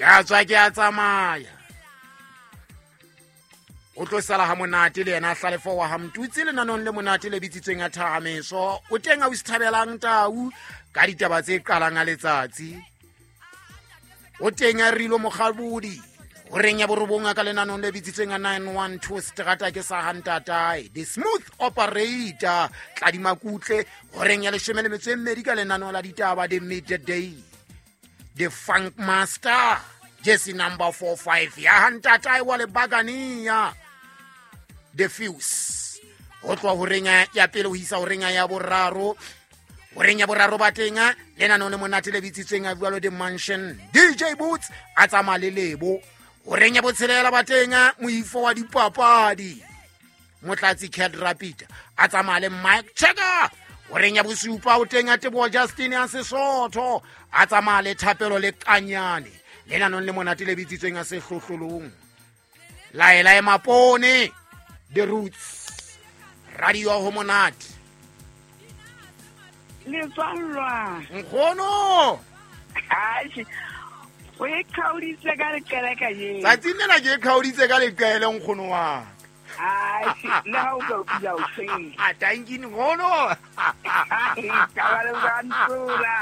Ke a tswa, ke a tsamaya. O tlo sala ha monate le yena Hlalefo wa Hamtutsi lenanong le monate le bitsitsweng a Thahameso. O teng a o thabelang tau ka ditaba tse qalang a letsatsi. O teng a Rilo Mokgabodi horeng ya borobong a ka lenanong le bitsitsweng a 912 seterata ke sa hantatae, the smooth operator Tladimakutle horeng ya 12 ka lenaneo la ditaba, the midday, the funk master jesse number 45 ya hantatae wa lebakania, the fuse, ho tloha horeng ya pele ho isa horeng ya boraro. Horeng ya boraro ba teng lenaneo le monate le bitsitsweng a jwalo the mansion, DJ Boots a tsamaya le Lebo. Horeng ya botshelela ba teng moifo wa dipapadi, Motlatsi Cat Rapid a tsamaya le Mike Checker. Horeng ya bosupa o teng a Teboa Justin ya Sesotho a tsamaya le Thapelo le Kanyane lenanong le monate le bitsitsweng a Sehlohlolong. Laela e mapone, the roots radio ho monate. Letswallwa. Nkgono. O e kgaoditse ka leqele ka ye. Tsatsing lena ke e kgaoditse ka leqele, nkgono wa. Le ha o ka o pila o seng. A tanki, nkgono. Ka ba le ba ntsola.